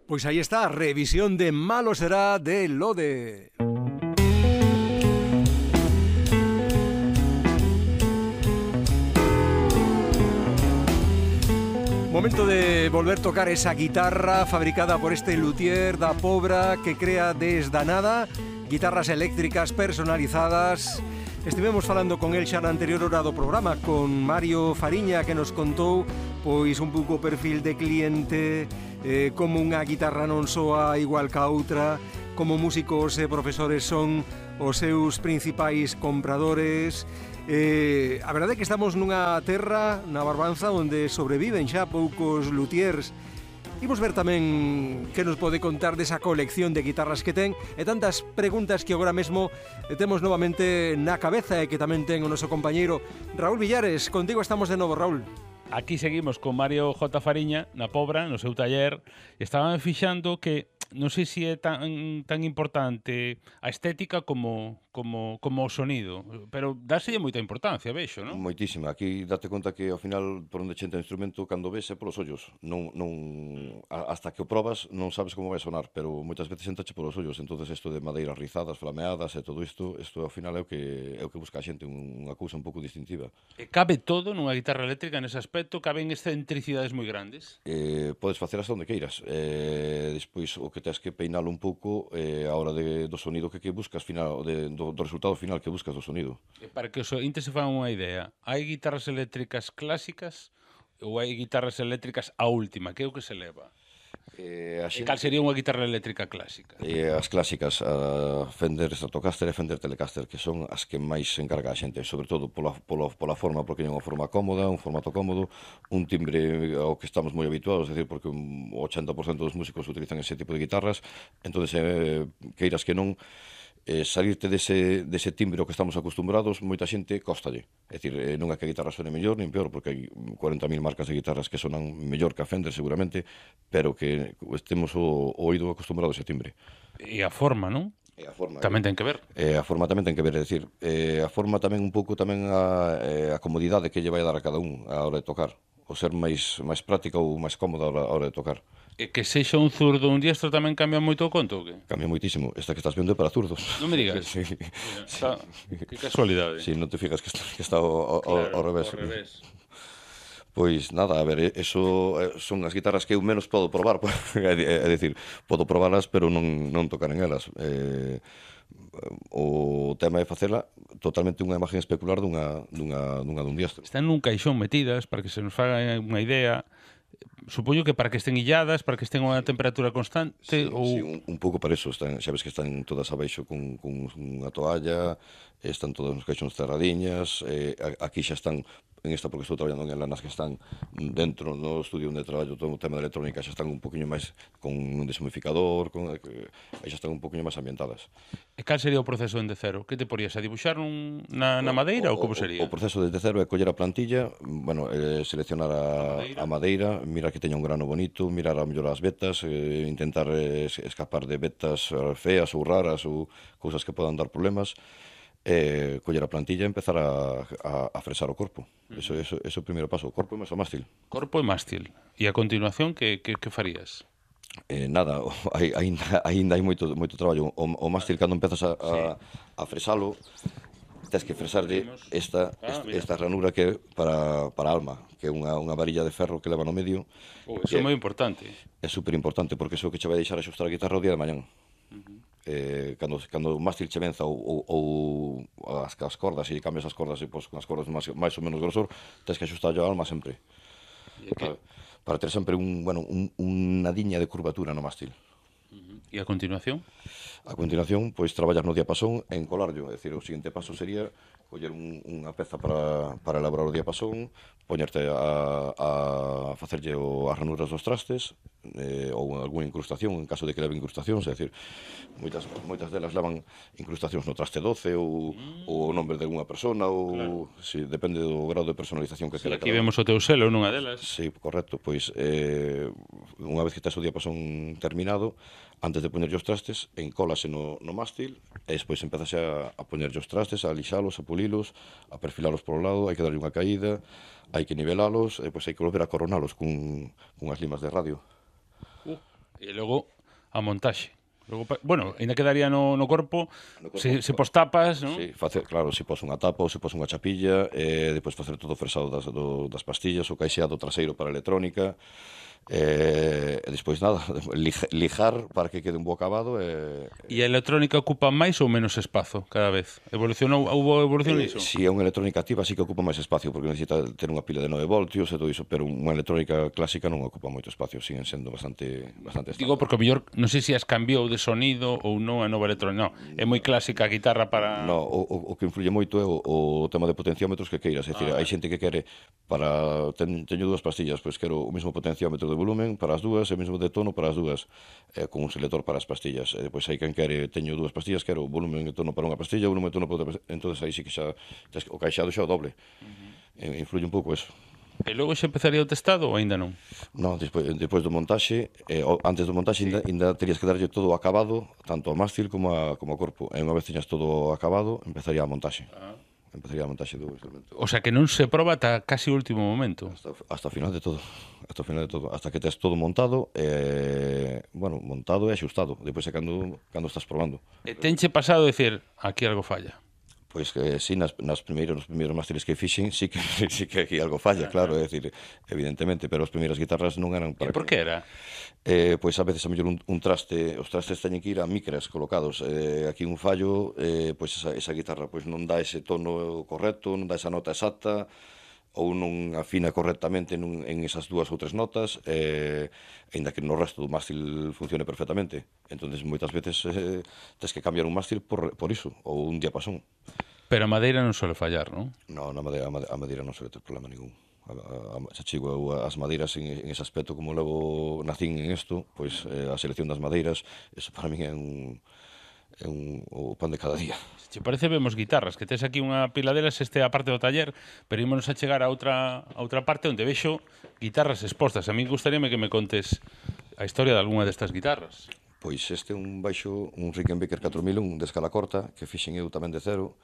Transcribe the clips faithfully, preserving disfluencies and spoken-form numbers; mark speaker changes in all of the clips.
Speaker 1: Pois aí está, revisión de Malo Será de Lode. Momento de volver a tocar esa guitarra fabricada por este luthier da Pobra que crea desde a nada guitarras eléctricas personalizadas. Estivemos falando con el xa na anterior hora do programa con Mario Fariña, que nos contou pois un pouco o perfil de cliente, eh, como unha guitarra non soa igual ca outra, como músicos e profesores son os seus principais compradores. Eh, a verdade é que estamos nunha terra, na Barbanza, onde sobreviven xa poucos luthiers. Imos ver tamén que nos pode contar desa colección de guitarras que ten e tantas preguntas que agora mesmo temos novamente na cabeza e que tamén ten o noso compañeiro Raúl Villares. Contigo estamos de novo, Raúl.
Speaker 2: Aquí seguimos con Mario J. Fariña na Pobra, no seu taller. Estaban fixando que non sei se é tan, tan importante a estética como, como, como o sonido, pero dáselle moita importancia, vexo, non?
Speaker 3: Moitísima. Aquí date conta que ao final por onde chenta o instrumento cando ves é polos ollos. Non, non, hasta que o probas non sabes como vai sonar, pero moitas veces entrache polos ollos. Entonces isto de madeiras rizadas, flameadas e todo isto, isto ao final é o que, é o que busca a xente, unha cousa un pouco distintiva.
Speaker 2: E cabe todo nunha guitarra eléctrica nese aspecto? Caben excentricidades moi grandes?
Speaker 3: Eh, podes facer hasta onde queiras. Eh, despois o que tens que peinalo un pouco eh, a hora de, do sonido que, que buscas final, de, do, do resultado final que buscas do sonido.
Speaker 2: E para que os ointes se fan unha idea, hai guitarras eléctricas clásicas ou hai guitarras eléctricas a última? Que é o que se leva?
Speaker 3: Eh, a
Speaker 2: xente... E cal sería unha guitarra eléctrica clásica?
Speaker 3: Eh, as clásicas, a Fender Stratocaster e Fender Telecaster, que son as que máis se encarga a xente, sobre todo pola, pola, pola forma, porque é unha forma cómoda, un formato cómodo, un timbre ao que estamos moi habituados, é dicir, porque o ochenta por cento dos músicos utilizan ese tipo de guitarras, entonces eh, queiras que non, eh, salirte dese, dese timbre ao que estamos acostumbrados, moita xente costalle. É dicir, eh, non é que a guitarra suene mellor nin peor, porque hai cuarenta mil marcas de guitarras que sonan mellor que a Fender seguramente, pero que estemos o, o oído acostumbrado a ese timbre.
Speaker 2: E a forma, non?
Speaker 3: E a forma
Speaker 2: tamén ten que ver.
Speaker 3: Eh, a forma tamén ten que ver, é dicir, eh, a forma tamén un pouco tamén a, eh, a comodidade que lle vai dar a cada un a hora de tocar, o ser máis máis práctica ou máis cómoda a hora, a hora de tocar.
Speaker 2: E que sexa un zurdo ou un diestro tamén cambia moito o conto, ou que?
Speaker 3: Cambia moitísimo. Esta que estás vendo é para zurdos.
Speaker 2: Non me digas.
Speaker 3: Sí.
Speaker 2: Mira, está... Que casualidade.
Speaker 3: Si, sí, non te fijas que está, que está ao, ao,
Speaker 2: claro,
Speaker 3: ao revés.
Speaker 2: Ao revés.
Speaker 3: Pois nada, a ver, eso son as guitarras que eu menos podo probar, é dicir, podo probalas, pero non, non tocar en elas. Eh, o tema é facela totalmente unha imagen especular dunha, dunha, dunha dun diestro.
Speaker 2: Están nun caixón metidas, para que se nos faga unha idea. Supoño que para que estén illadas, para que estén a unha temperatura constante,
Speaker 3: sí,
Speaker 2: ou...
Speaker 3: Sí, un, un pouco para eso. Están, xa ves que están todas abaixo con, con unha toalla, están todas nos caixóns cerradiñas, eh, aquí xa están, en esta porque estou traballando en lanas que están dentro no estudio onde traballo todo o tema de electrónica, xa están un poquinho máis con un deshumificador, con, eh, xa están un poquinho máis ambientadas.
Speaker 2: E cal sería o proceso dende cero? Que te porías a dibuixar un, na, na madeira ou como sería?
Speaker 3: O, o proceso desde cero é coller a plantilla, bueno, eh, seleccionar a, a, madeira. a madeira, mirar que teña un grano bonito, mirar a mellor as vetas, eh, intentar eh, escapar de vetas feas ou raras ou cousas que podan dar problemas, eh, coller a plantilla e empezar a, a, a fresar o corpo. Uh -huh. Eso, eso, eso é o primeiro paso, o corpo e máis o mástil.
Speaker 2: Corpo e mástil. E a continuación, que, que, que farías?
Speaker 3: Eh, nada, ainda, ainda hai moito, moito traballo. O, o mástil, cando empezas a, a, sí. a fresalo, tens que fresarlle esta, ah, esta, esta ranura que é para, para a alma, que é unha, unha varilla de ferro que leva no medio.
Speaker 2: Oh, eso é moi importante.
Speaker 3: É super importante, porque iso que che vai deixar axustar a guitarra o día de mañán. Uh -huh. eh, cando, cando o mástil che venza ou, ou, ou as, as cordas, e cambias as cordas e pos, con as cordas máis, máis ou menos grosor, tens que axustar a alma sempre. Para, para ter sempre un, bueno, un, unha diña de curvatura no mástil.
Speaker 2: Uh -huh. E a continuación?
Speaker 3: A continuación, pois, traballar no diapasón e encolarlo. É dicir, o seguinte paso sería coller un, unha peza para, para elaborar o diapasón, poñerte a, a facerlle o, as ranuras dos trastes, eh, ou algunha incrustación, en caso de que leve incrustacións, é dicir, moitas, moitas delas levan incrustacións no traste doce, ou, mm. ou o nombre de unha persona, ou claro. Si, depende do grado de personalización que
Speaker 2: sí,
Speaker 3: quere.
Speaker 2: Aquí vemos o teu selo nunha delas.
Speaker 3: Sí, correcto, pois eh, unha vez que tes o diapasón terminado, antes de poñerlle os trastes, encólase no, no mástil, e despois empezase a, a poñerlle os trastes, a lixalos, a pulilos, a perfilalos por o lado, hai que darlle unha caída, hai que nivelalos, e depois hai que volver a coronalos cun, cunhas limas de radio.
Speaker 2: Uh, E logo a montaxe. Logo, bueno, ainda quedaría no, no corpo, no corpo se, se pos tapas, non?
Speaker 3: Sí, facer, claro, se pos unha tapa ou se pos unha chapilla, e depois facer todo o fresado das, do, das pastillas, o caixeado traseiro para a electrónica, e, e despois nada, lijar para que quede un bo acabado. E,
Speaker 2: e a electrónica ocupa máis ou menos espazo cada vez? Evolucionou, houve evolución
Speaker 3: eh,
Speaker 2: niso?
Speaker 3: Si é unha electrónica activa sí que ocupa máis espacio, porque necesita ter unha pila de nove voltios e todo iso, pero unha electrónica clásica non ocupa moito espacio, siguen sendo bastante bastante estándar.
Speaker 2: Digo porque o mellor, non sei se as cambiou de sonido ou non a nova electrónica, non, é moi clásica a guitarra para...
Speaker 3: No, o, o que influye moito é o, o tema de potenciómetros que queiras, é dicir, ah, hai xente que quere para, ten, teño dúas pastillas, pois quero o mesmo potenciómetro de volumen para as dúas e o mesmo de tono para as dúas, eh, con un selector para as pastillas, e depois hai quen quere, teño dúas pastillas, quero volumen e tono para unha pastilla, volumen e tono para outra pastilla, entonces aí sí que xa, o caixado xa o doble, uh-huh. Influye un pouco eso.
Speaker 2: E logo xa empezaría o testado ou ainda non?
Speaker 3: Non, despois, despois do montaxe, eh, antes do montaxe sí. ainda, ainda terías que darlle todo acabado, tanto ao mástil como, a, como ao corpo. E unha vez teñas todo acabado, empezaría a montaxe. Ah. Empezaría a montaxe do instrumento.
Speaker 2: O sea que non se proba ata casi o último momento.
Speaker 3: Hasta, hasta o final de todo. Hasta o final de todo. Hasta que tes todo montado, eh, bueno, montado e axustado. Depois é cando, cando estás probando.
Speaker 2: E tenche pasado a decir, aquí algo falla?
Speaker 3: Pois que sí, nas, nas primeiros, nos primeiros másteres que fixen, sí que, sí que aquí algo falla, claro, é dicir, evidentemente, pero as primeiras guitarras non eran para...
Speaker 2: E por que era?
Speaker 3: Eh, pois a veces a mellor un, un traste, os trastes teñen que ir a micras colocados, eh, aquí un fallo, eh, pois esa, esa guitarra pois non dá ese tono correcto, non dá esa nota exacta, ou non afina correctamente nun, en esas dúas ou tres notas, eh, ainda que no resto do mástil funcione perfectamente. Entonces moitas veces eh, tens que cambiar un mástil por, por iso, ou un diapasón.
Speaker 2: Pero a madeira non suele fallar, non?
Speaker 3: No, na madeira, a madeira non suele ter problema ningún. A, a, a, xa chigo eu as madeiras en, en ese aspecto, como levo nacín en isto, pois eh, a selección das madeiras, eso para min é un, é un, o pan de cada día.
Speaker 2: Se parece, vemos guitarras, que tes aquí unha pila delas, este é a parte do taller, pero ímonos a chegar a outra, a outra parte onde vexo guitarras expostas. A mí gustaríame que me contes a historia de algunha destas guitarras.
Speaker 3: Pois este é un baixo, un Rickenbacker catro mil un de escala corta, que fixen eu tamén de cero.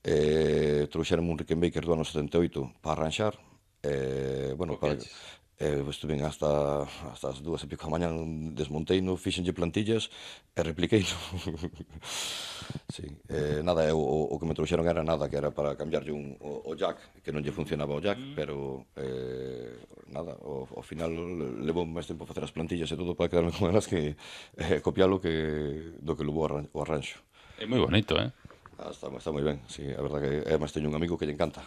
Speaker 3: Eh, trouxeron un Rickenbacker do ano setenta e oito para arranxar. Eh, bueno, para, eh, estuve hasta, hasta as dúas e pico a mañan, desmonteino, fixenlle plantillas e repliqueino. Sí, eh, nada, o, o que me trouxeron era nada, que era para cambiarlle un, o, o jack, que non lle funcionaba o jack, pero eh, nada, ao, ao final levou máis tempo facer as plantillas e todo para quedarme con elas que eh, copialo que do que levou o arranxo.
Speaker 2: É moi bonito, eh?
Speaker 3: Ah, está, está moi ben, sí, a verdad que además teño un amigo que lle encanta.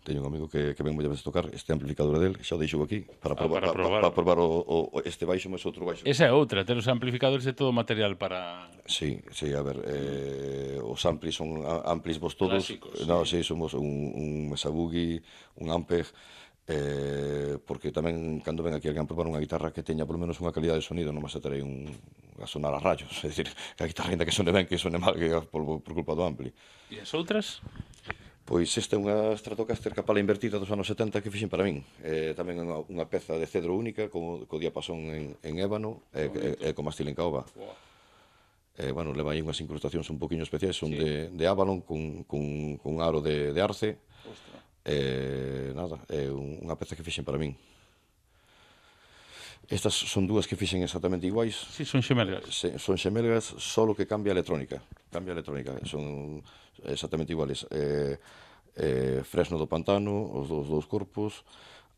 Speaker 3: Teño un amigo que, que ven moitas veces tocar este amplificador del, xa o deixo aquí para probar, ah, para probar, para, para probar o, o, este baixo máis outro baixo.
Speaker 2: Esa é outra, ter os amplificadores de todo material para...
Speaker 3: Sí, sí, a ver, eh, os amplis son amplis vos todos.
Speaker 2: Clásicos,
Speaker 3: no,
Speaker 2: sí.
Speaker 3: sí, somos un, un Mesa Boogie, un Ampeg, eh, porque tamén cando ven aquí alguén a probar unha guitarra que teña polo menos unha calidad de sonido, non me terei un a sonar a rayos, é dicir, que a guitarra ainda que sone ben, que sone mal que por, por culpa do ampli.
Speaker 2: E as outras?
Speaker 3: Pois esta é unha Stratocaster capala invertida dos anos setenta que fixen para min. Eh, tamén unha, unha peza de cedro única, co, co diapasón en, en ébano e, e, e co mástil en caoba. Wow. Eh, bueno, leva aí unhas incrustacións un poquinho especiais, son sí. de, de Avalon con, con, con un aro de, de arce. Ostra. Eh, nada, é unha peza que fixen para min. Estas son dúas que fixen exactamente iguais.
Speaker 2: Sí, son xemelgas.
Speaker 3: Se, son xemelgas, solo que cambia a electrónica. Cambia a electrónica, son exactamente iguales. Eh, eh, fresno do pantano, os dous, dous corpos,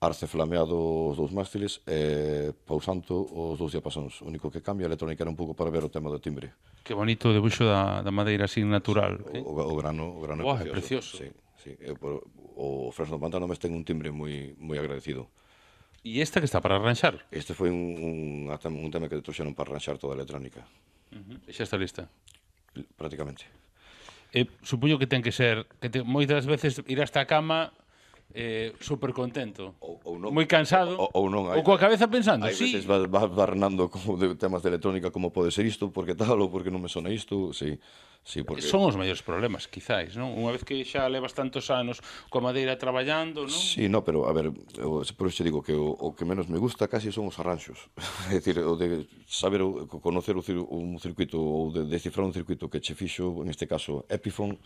Speaker 3: arce flameado os dous mástiles, e eh, pausanto os dous diapasóns. O único que cambia a electrónica era un pouco para ver o tema do timbre.
Speaker 2: Que bonito o debuxo da, da madeira así natural.
Speaker 3: O, o, o grano, o grano
Speaker 2: Uau, é precioso.
Speaker 3: Sí, sí. E, por, o fresno do pantano mes ten un timbre moi, moi agradecido.
Speaker 2: E esta que está para arranxar?
Speaker 3: Este foi un, un, un tema que trouxeron para arranxar toda a electrónica.
Speaker 2: Uh-huh. E xa está lista?
Speaker 3: Prácticamente.
Speaker 2: E supoño que ten que ser, que te, moitas veces ir hasta a cama eh, super contento,
Speaker 3: ou, ou non,
Speaker 2: moi cansado,
Speaker 3: ou, ou, non, hai,
Speaker 2: ou coa cabeza pensando,
Speaker 3: hai
Speaker 2: sí.
Speaker 3: veces vas va barrenando como de temas de electrónica, como pode ser isto, porque tal, ou porque non me sona isto, sí. Sí, porque...
Speaker 2: Son os maiores problemas, quizáis, non? Unha vez que xa levas tantos anos coa madeira traballando, non?
Speaker 3: Sí, no, pero, a ver, eu, por iso digo que o, o que menos me gusta casi son os arranxos. É dicir, o de saber, o, conocer o, un circuito ou de descifrar un circuito que che fixo, en este caso Epiphone,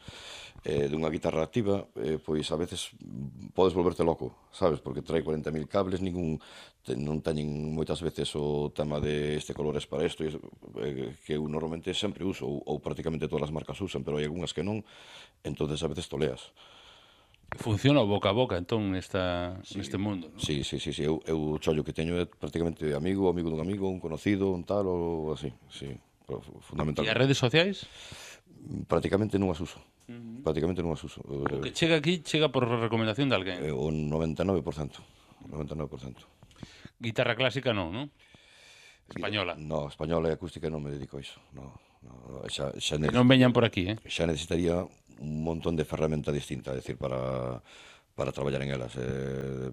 Speaker 3: eh, dunha guitarra activa, eh, pois a veces podes volverte loco, sabes? Porque trae cuarenta mil cables, ningún, te, non teñen moitas veces o tema de este color es para isto, eh, que eu normalmente sempre uso, ou, ou prácticamente todas as marcas usan, pero hai algunhas que non, entonces a veces toleas.
Speaker 2: Funciona o boca a boca, entón, nesta,
Speaker 3: sí,
Speaker 2: neste mundo, non?
Speaker 3: Sí, sí, sí, sí. Eu, eu o chollo que teño é prácticamente amigo, amigo dun amigo, un conocido, un tal, ou así, sí, fundamentalmente.
Speaker 2: E as redes sociais?
Speaker 3: Prácticamente non as uso. Uh-huh. Prácticamente non as uso.
Speaker 2: O que chega aquí, chega por recomendación de alguén?
Speaker 3: O noventa e nove por cento. noventa e nove por cento.
Speaker 2: Guitarra clásica non, non? Española?
Speaker 3: No, española e acústica non me dedico a iso. No, no, xa, xa
Speaker 2: necesitaría, non veñan por aquí, eh?
Speaker 3: Xa necesitaría un montón de ferramenta distinta, é dicir, para, para traballar en elas. Eh,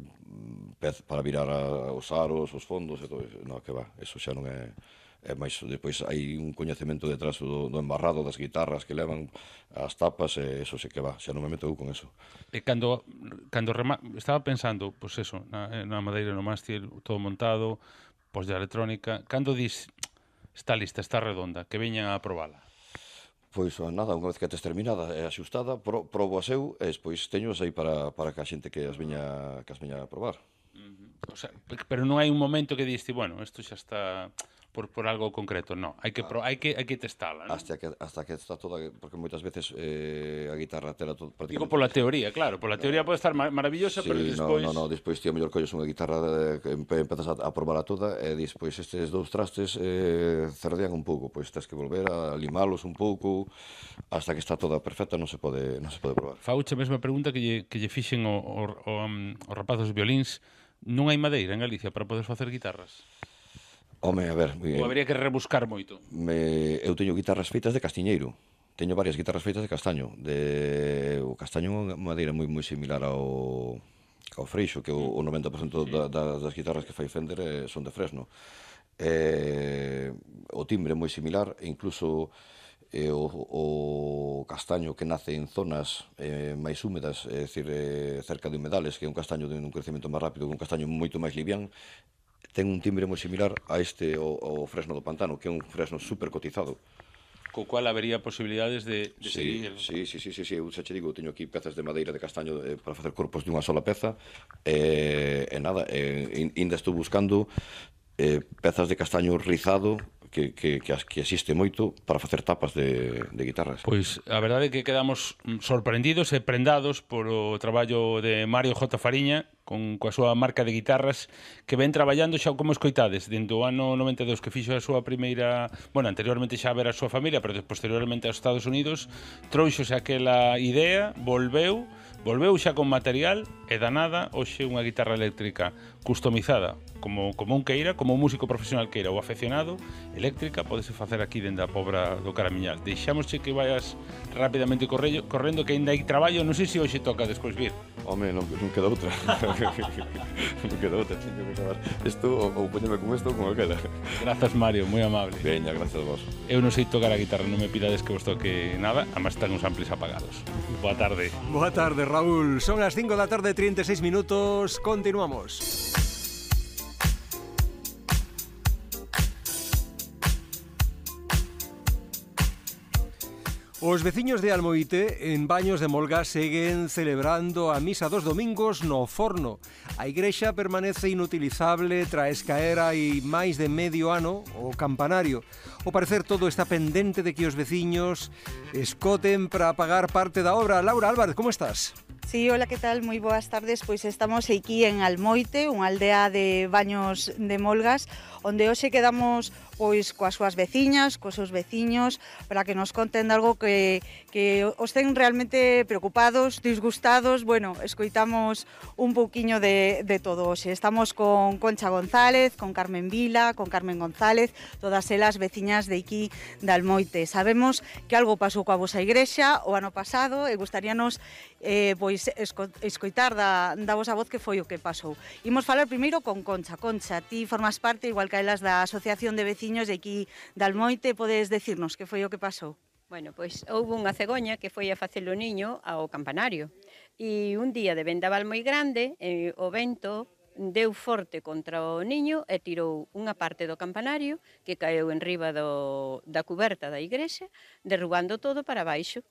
Speaker 3: pez, para virar a, os aros, os fondos, e todo eso. No, que va, eso xa non é... É máis, depois hai un coñecemento detrás do, do embarrado das guitarras que levan as tapas, e eso sí que va, xa non me meto eu con eso.
Speaker 2: E cando, cando rema... estaba pensando, pois pues eso, na, na madeira, no mástil, todo montado, pois de electrónica, cando dis, está lista, está redonda, que veñan a probala?
Speaker 3: Pois nada, unha vez que tes terminada e axustada, pro, probo as eu, e despois teño as aí para, para que a xente que as veña, que as veña a probar.
Speaker 2: Uh-huh. O sea, pero non hai un momento que diste, bueno, isto xa está... Por, por algo concreto, no, hai que, pro, hai que, hai que testala, ¿no?
Speaker 3: Hasta que, hasta que está toda, porque moitas veces eh, a guitarra tela todo prácticamente...
Speaker 2: Digo pola teoría, claro, pola teoría pode estar mar maravillosa,
Speaker 3: sí,
Speaker 2: pero despois...
Speaker 3: No, no, no, despois ti a mellor colles unha guitarra que empezas a, a probar a toda e despois estes dous trastes eh, cerdean un pouco, pois tens que volver a limalos un pouco hasta que está toda perfecta, non se pode, non se pode probar.
Speaker 2: Fauche a mesma pregunta que lle, que lle fixen o, o, o, um, os rapazos violíns. Non hai madeira en Galicia para poder facer guitarras?
Speaker 3: Home, a ver...
Speaker 2: Ou habría que rebuscar moito?
Speaker 3: Me, eu teño guitarras feitas de castiñeiro. Teño varias guitarras feitas de castaño. De, o castaño é unha madeira moi moi similar ao, ao freixo, que o, o noventa por cento sí. da, da, das guitarras que fai Fender eh, son de fresno. Eh, o timbre é moi similar, e incluso eh, o, o castaño que nace en zonas eh, máis húmedas, é dicir, eh, cerca de humedales, que é un castaño de un crecemento máis rápido, que un castaño moito máis livián, ten un timbre moi similar a este, o, o fresno do pantano, que é un fresno super cotizado.
Speaker 2: Co cual habería posibilidades de, de
Speaker 3: sí,
Speaker 2: seguir...
Speaker 3: Sí, sí, sí, sí, sí, eu xa che digo, teño aquí pezas de madeira de castaño eh, para facer corpos de unha sola peza, e, eh, nada, eh, ainda estou buscando eh, pezas de castaño rizado, que, que, que, que existe moito para facer tapas de, de guitarras.
Speaker 2: Pois a verdade é que quedamos sorprendidos e prendados polo traballo de Mario J. Fariña con coa súa marca de guitarras que ven traballando xa como escoitades dentro do ano noventa e dous, que fixo a súa primeira, bueno, anteriormente xa a ver a súa familia, pero posteriormente aos Estados Unidos, trouxose aquela idea, volveu volveu xa con material e danada hoxe unha guitarra eléctrica customizada como, como un queira, como un músico profesional queira ou afeccionado, eléctrica, podese facer aquí dende a Pobra do Caramiñal. Deixámosche que vayas rapidamente corrello, correndo, que ainda hai traballo, non sei se hoxe toca despois vir.
Speaker 3: Home, non, non queda outra. Non queda outra, teño que acabar. Isto, ou poñeme con isto ou con aquela.
Speaker 2: Grazas, Mario, moi amable.
Speaker 3: Veña, gracias a vos.
Speaker 2: Eu non sei tocar a guitarra, non me pidades que vos toque nada, además están uns amplis apagados. Boa tarde.
Speaker 1: Boa tarde, Raúl. Son as cinco da tarde, trinta e seis minutos. Continuamos. Os veciños de Almoite, en Baños de Molga, seguen celebrando a misa dos domingos no forno. A igrexa permanece inutilizable tras caer hai máis de medio ano o campanario. Ao parecer todo está pendente de que os veciños escoten para pagar parte da obra. Laura Álvarez, como estás?
Speaker 4: Sí, hola, que tal? Moi boas tardes. Pois estamos aquí en Almoite, unha aldea de Baños de Molgas, onde hoxe quedamos pois coas súas veciñas, cos seus veciños, para que nos conten algo que, que os ten realmente preocupados, disgustados. Bueno, escoitamos un pouquiño de, de todo hoxe. Estamos con Concha González, con Carmen Vila, con Carmen González, todas elas veciñas de aquí de Almoite. Sabemos que algo pasou coa vosa igrexa o ano pasado e gustaríanos eh, pois esco, escoitar da, da vosa voz que foi o que pasou. Imos falar primeiro con Concha. Concha, ti formas parte, igual que elas, da Asociación de Veciños de aquí de Almoite. Podes decirnos que foi o que pasou?
Speaker 5: Bueno, pois houve unha cegoña que foi a facelo niño ao campanario e un día de vendaval moi grande eh, o vento deu forte contra o niño e tirou unha parte do campanario que caeu en riba do, da cuberta da igrexa, derrubando todo para baixo.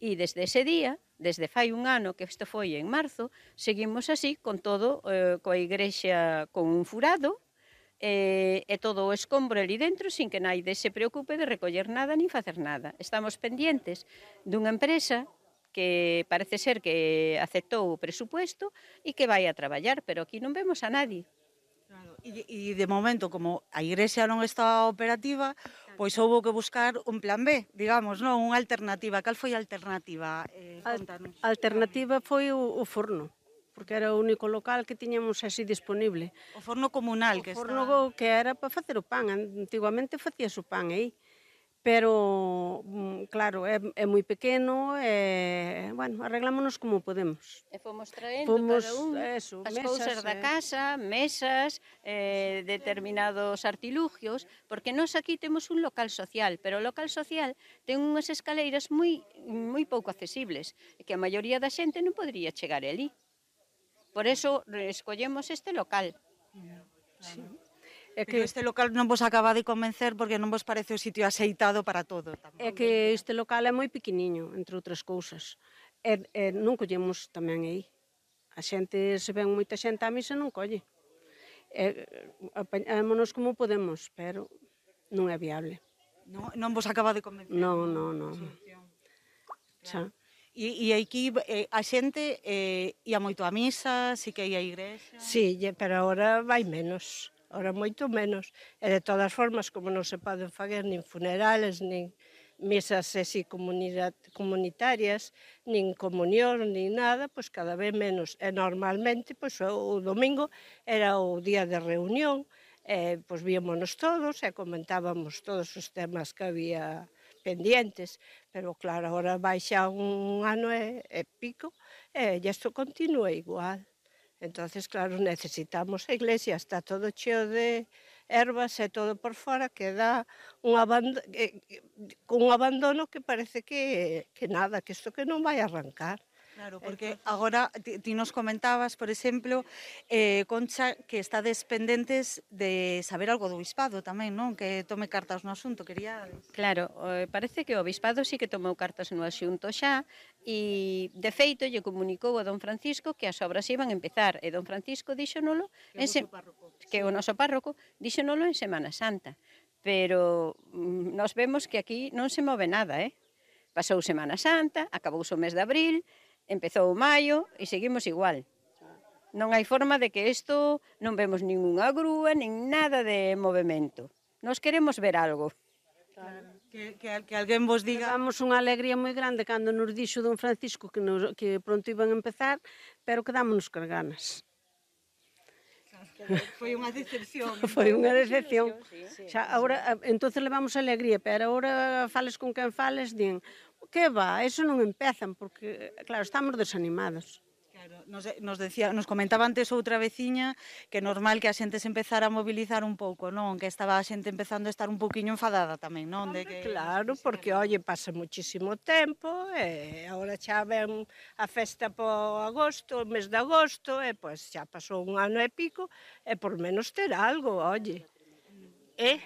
Speaker 5: E desde ese día, desde fai un ano, que isto foi en marzo, seguimos así con todo, eh, coa igrexa con un furado, e, e todo o escombro ali dentro sin que naide se preocupe de recoller nada nin facer nada. Estamos pendientes dunha empresa que parece ser que aceptou o presupuesto e que vai a traballar, pero aquí non vemos a nadie.
Speaker 4: Claro. E, e de momento, como a igrexa non está operativa, pois houbo que buscar un plan B, digamos, non? Unha alternativa. Cal foi a alternativa? Eh, contanos.
Speaker 6: A alternativa foi o, o forno, porque era o único local que tiñamos así disponible.
Speaker 4: O forno comunal
Speaker 6: O
Speaker 4: que
Speaker 6: forno
Speaker 4: está...
Speaker 6: que era para facer o pan, antigamente facías o pan aí, pero, claro, é, é moi pequeno, e, bueno, arreglámonos como podemos.
Speaker 5: E fomos traendo
Speaker 6: Fomos,
Speaker 5: cada un
Speaker 6: eso,
Speaker 5: as
Speaker 6: mesas,
Speaker 5: cousas da
Speaker 6: eh.
Speaker 5: casa, mesas, eh, determinados artilugios, porque nós aquí temos un local social, pero o local social ten unhas escaleiras moi, moi pouco accesibles, e que a maioría da xente non podría chegar ali. Por eso escollemos este local.
Speaker 6: Sí.
Speaker 4: É que este local non vos acaba de convencer porque non vos parece o sitio aceitado para todo. Tampouco.
Speaker 6: É que este local é moi pequeniño, entre outras cousas. E, e non collemos tamén aí. A xente, se ven moita xente á misa, non colle. E, apañámonos como podemos, pero non é viable.
Speaker 4: Non, non vos acaba de convencer?
Speaker 6: Non, non, non. Xa.
Speaker 4: E, e aquí eh, a xente eh, ia moito á misa, si que ia á igrexa?
Speaker 7: Sí, pero agora vai menos. Ora moito menos. E de todas formas, como non se poden fazer nin funerales, nin mesas así comunitarias, nin comunión, nin nada, pois cada vez menos. E normalmente, pois o domingo era o día de reunión, e pois víamonos todos e comentábamos todos os temas que había pendientes, pero claro, agora vai xa un ano e, e pico, e isto continúa igual. Entonces, claro, necesitamos a iglesia, está todo cheo de ervas e todo por fora, que dá un abandono, eh, un abandono que parece que, que nada, que isto que non vai arrancar.
Speaker 4: Claro, porque agora ti, ti nos comentabas, por exemplo, eh, Concha, que estades pendentes de saber algo do Obispado tamén, non? Que tome cartas no asunto, quería...
Speaker 5: Claro, eh, parece que o Obispado sí que tomou cartas no asunto xa e, de feito, lle comunicou a don Francisco que as obras iban a empezar e don Francisco díxonolo
Speaker 4: Que é o
Speaker 5: se...
Speaker 4: noso párroco.
Speaker 5: que o noso párroco díxonolo en Semana Santa, pero mm, nos vemos que aquí non se move nada, eh? Pasou Semana Santa, acabouse o mes de abril, empezou maio e seguimos igual. Non hai forma de que isto non vemos ninguna grúa, nin nada de movimento. Nos queremos ver algo.
Speaker 4: Claro. Que, que, que alguén vos diga...
Speaker 6: Levamos unha alegría moi grande cando nos dixo don Francisco que, nos, que pronto iban a empezar, pero quedámonos con ganas.
Speaker 4: Foi unha decepción.
Speaker 6: Foi unha decepción. Xa, agora, entonces levamos alegría, pero agora fales con quen fales, din, que va, eso non empezan, porque, claro, estamos desanimados.
Speaker 4: Claro, nos, nos, decía, nos comentaba antes outra veciña que é normal que a xente se empezara a mobilizar un pouco, non? Que estaba a xente empezando a estar un pouquiño enfadada tamén, non? De que...
Speaker 7: Claro, porque, oye, pasa muchísimo tempo, e agora xa ven a festa po agosto, o mes de agosto, e pois xa pasou un ano e pico, e por menos ter algo, oye. E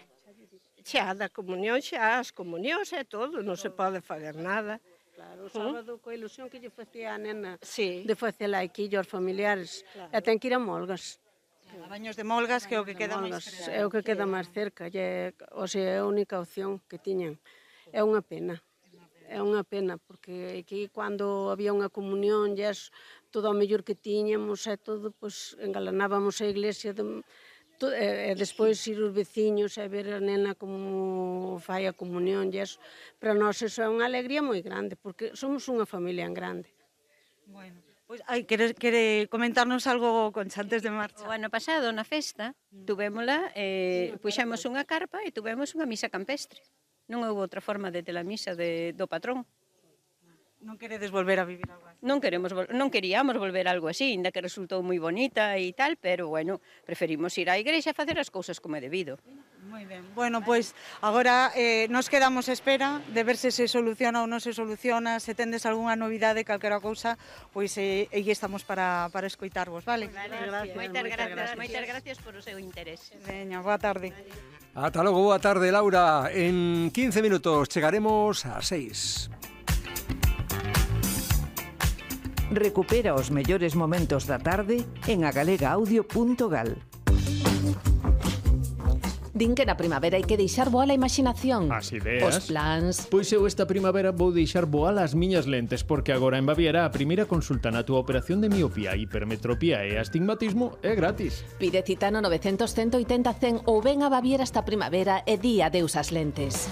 Speaker 7: xa da comunión, xa as comunións e todo, non se pode fazer nada.
Speaker 6: Claro, o sábado, coa ilusión que lle facía a nena
Speaker 7: Sí.
Speaker 6: de facela aquí aos familiares, claro. E ten que ir a Molgas.
Speaker 4: A Baños de Molgas, que é o que queda máis
Speaker 6: Molgas,
Speaker 4: cerca.
Speaker 6: é o que queda máis cerca, e, o sea, é a única opción que tiñan. É unha pena, é unha pena, porque aquí cando había unha comunión, e todo o mellor que tiñamos, e todo, pois, engalanábamos a iglesia, de, to, e, e despois ir os veciños e ver a nena como fai a comunión, e eso, para nós eso é unha alegría moi grande, porque somos unha familia en grande.
Speaker 4: Bueno, pois, ai, quere, quere comentarnos algo, Concha, antes de marcha?
Speaker 5: O ano pasado, na festa, tuvémola, eh, puxemos unha carpa e tuvemos unha misa campestre. Non houve outra forma de ter a misa de, do patrón.
Speaker 4: Non queredes volver a vivir algo así?
Speaker 5: Non queremos, non queríamos volver a algo así, ainda que resultou moi bonita e tal, pero, bueno, preferimos ir á igrexa e facer as cousas como é debido.
Speaker 4: Moi ben. Bueno, pois agora eh, nos quedamos a espera de ver se se soluciona ou non se soluciona, se tendes algunha novidade, calquera cousa, pois eh, aí estamos para, para escoitarvos, vale?
Speaker 5: Vale, gracias. Moitas gracias, moitas gracias por o seu interés.
Speaker 4: Veña, boa tarde.
Speaker 1: Ata logo, boa tarde, Laura. En quince minutos chegaremos ás seis.
Speaker 8: Recupera os mellores momentos da tarde en agalega-audio punto gal.
Speaker 9: Din que na primavera hai que deixar voar a imaginación.
Speaker 10: As ideas.
Speaker 9: Os plans.
Speaker 10: Pois eu esta primavera vou deixar voar as miñas lentes, porque agora en Baviera a primeira consulta na túa operación de miopía, hipermetropía e astigmatismo é gratis.
Speaker 9: Pide cita no nove cero cero, ciento oitenta, cen ou ven a Baviera esta primavera e di adeus ás lentes.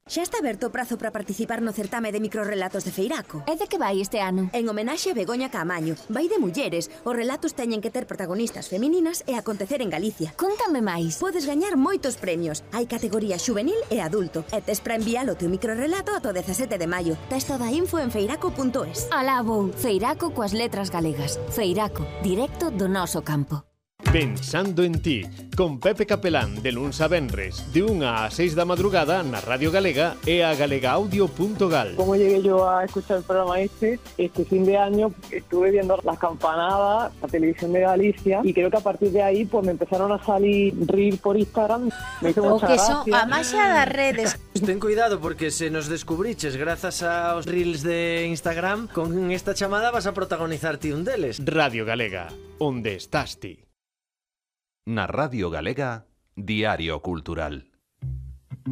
Speaker 11: Xa está aberto o prazo para participar no certame de microrrelatos de Feiraco.
Speaker 12: E de que vai este ano?
Speaker 11: En homenaxe a Begoña Caamaño. Vai de mulleres. Os relatos teñen que ter protagonistas femininas e acontecer en Galicia.
Speaker 12: Contame máis.
Speaker 11: Podes gañar moitos premios. Hai categoría xuvenil e adulto. E tes para enviar o teu microrrelato ata o dezasete de maio. Tes toda a info en feiraco punto es.
Speaker 12: Alá vou. Feiraco coas letras galegas. Feiraco, directo do noso campo.
Speaker 10: Pensando en ti, con Pepe Capelán, de luns a venres, de unha a seis da madrugada na Radio Galega e a galega audio punto gal.
Speaker 13: Como llegué yo a escuchar el programa este, este fin de año estuve viendo las campanadas, la televisión de Galicia, y creo que a partir de ahí pues me empezaron a salir reels por Instagram. Me hizo mucha
Speaker 14: que
Speaker 13: gracia.
Speaker 14: son a maxia das redes.
Speaker 15: Ten cuidado porque se nos descubriches grazas aos reels de Instagram, con esta chamada vas a protagonizar ti un deles.
Speaker 10: Radio Galega, onde estás ti?
Speaker 16: Na Radio Galega, Diario Cultural.